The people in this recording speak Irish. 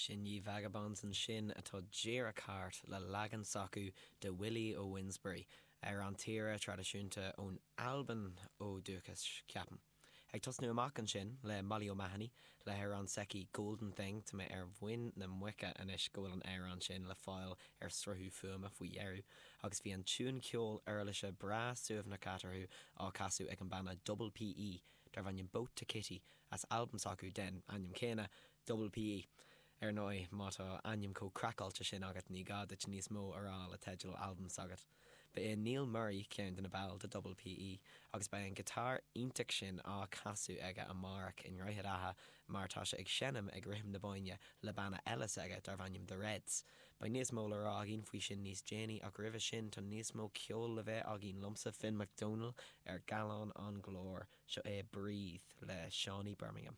Sin Ye Vagabonds ansin atá díreach thart le leagan s'acu de Willie o' Winsbury, amhrán tíre traidisiúnta ón Albain ó dúchas, ceapaim. Ag tosnú amach ansin le Molly O'Mahony le hamhrán s'aici Golden Thing, tá mé ar mhuin na muice anois go bhfuil an amhrán sin le fáil ar sruthú fuaime faoi dheireadh, agus bhí an tiúin ceoil uirlise breá suaimhneach eatarthu á casadh ag an banna Double PE darb ainm Boat to Kitty as albam s'acu den ainm céanna, Double PE. Ar ndóigh, má tá ainm chomh craiceáilte sin agat ní gá duit níos mó a rá le teideal albam s'agat. Ba é Neil Murray ceann de na baill de Double PE agus beidh an giotár iontach sin á casadh aige amárach i nDroichead Átha mar tá sé ag seinm ag Rithim na Bóinne le banna eile s'aige darb ainm The Reds. Beidh níos mó le rá againn faoi sin níos déanaí ach roimhe sin tá níos mó ceoil le bheith againn liomsa, Finn Mac Dónaill, ar Gallán an Ghlóir. Seo é Breathe le Seánie Birmingham.